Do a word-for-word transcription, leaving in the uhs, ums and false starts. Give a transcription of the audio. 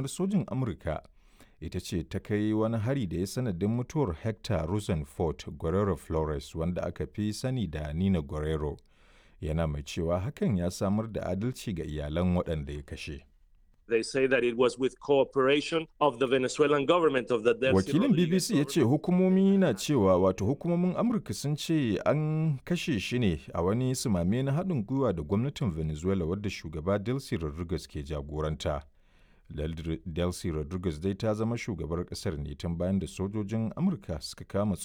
Sojin Amurka ita ce ta kai wani hari da ya sanadin mutuwar Hector Rosenfort Guerrero Flores, wanda aka fi sani da Nina Guerrero, yana mai cewa hakan ya samar da adalci ga iyalan waɗanda ya kashe. They say that it was with cooperation of the Venezuelan government of the Delcy Wakilin Rodriguez B B C ya ce hukumomi na cewa, wato hukumomin Amurka sun ce an kashe shi ne a wani sumame na haɗin gwiwa da gwamnatin Venezuela wadda shugaba Delcy Rodriguez ke jagoranta. Delcy Rodriguez dai ta zama shugabar ƙasar ne tun bayan da sojojin Amurka suka kama